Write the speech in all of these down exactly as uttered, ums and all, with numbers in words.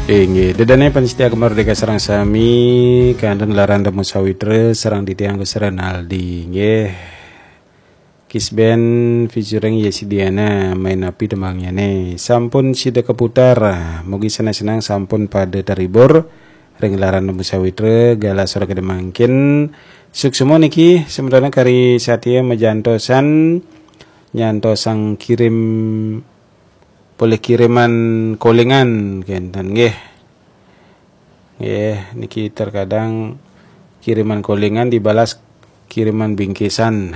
Inggih, ida dané pamiarsa Gema Merdeka sareng sami, kantun ring lerenan Temu Sawitra sareng titiang Gus Renaldi, nggih. Kisben featuring Yesi Diana, Main Api tembangnyané. Sampun sida kaputar, mugi seneng-seneng sampun pada terhibur ring lerenan Temu Sawitra, galah sore kedamangkin. Suksma niki semeton kari satia majantosan, nyantosang kirim polih kiriman kolingan kenten nggih. Nggih, niki terkadang kiriman kolingan dibalas kiriman bingkisan.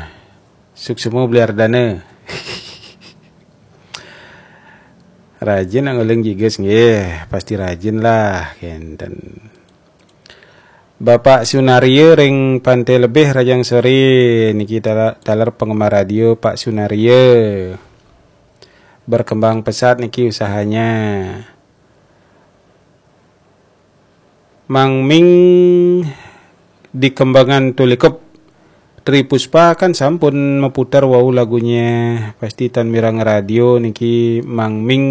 Suksma Bli Ardana. Rajin nak ngoling jigus nggih, pasti rajin lah kenten. Bapak Sunaria ring Pantai Lebih, rahajeng sore niki tala-, taler penggemar radio Pak Sunaria. Berkembang pesat niki usahanya. Mang Ming di Kembangan Tulikup. Tri Puspa kan sampun maputar wau lagunya, pasti tan mireng radio niki Mang Ming.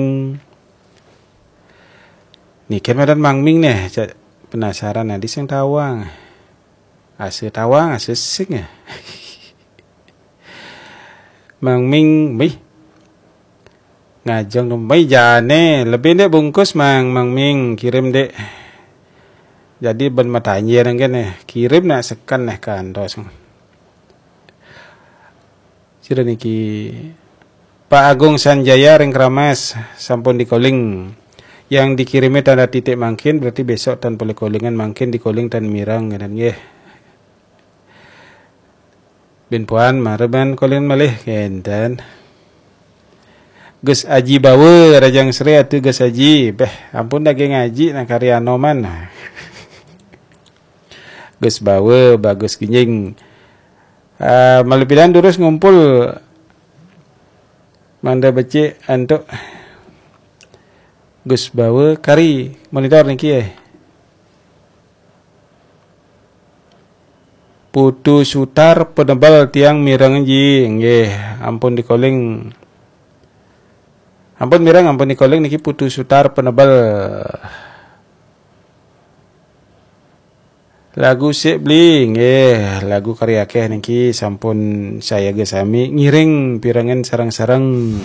Niki madan Mang Ming neh, cak penasaran adi sing tawang. Asa tawang, asa sing ya. Mang Ming, mih. Ngajeng dong, mih jane, lebih ndek bungkus Mang, Mang Ming, kirim ndek. Jadi ben matanya nang kene, kirim nak seken neh kantos. Sira niki Pak Agung Sanjaya ring Keramas sampun dikoling. Yang dikirimi tanda titik mangkin berarti besok tan polih kolingan, mangkin dikoling tan mireng ngenen nggih. Bin puan mara ban kolingan malih kenten. Gus Aji Bawa, rahajeng sore atuh Gus Aji. Beh, ampun daging ngaji nak karya Anoman. Gus Bawa, bagus ginjing. Ah, malih pidan durus ngumpul mangda becik antuk Gus Bawa kari monitor niki eh. Putu Sutar Penebel tiang mireng ji, nggih, ampun dikoling. Ampun mireng, ampun dikoling niki Putu Sutar Penebel. Lagu sik Bli, nggih, lagu kari akeh niki sampun sayaga sami ngiring pirengan sareng-sareng.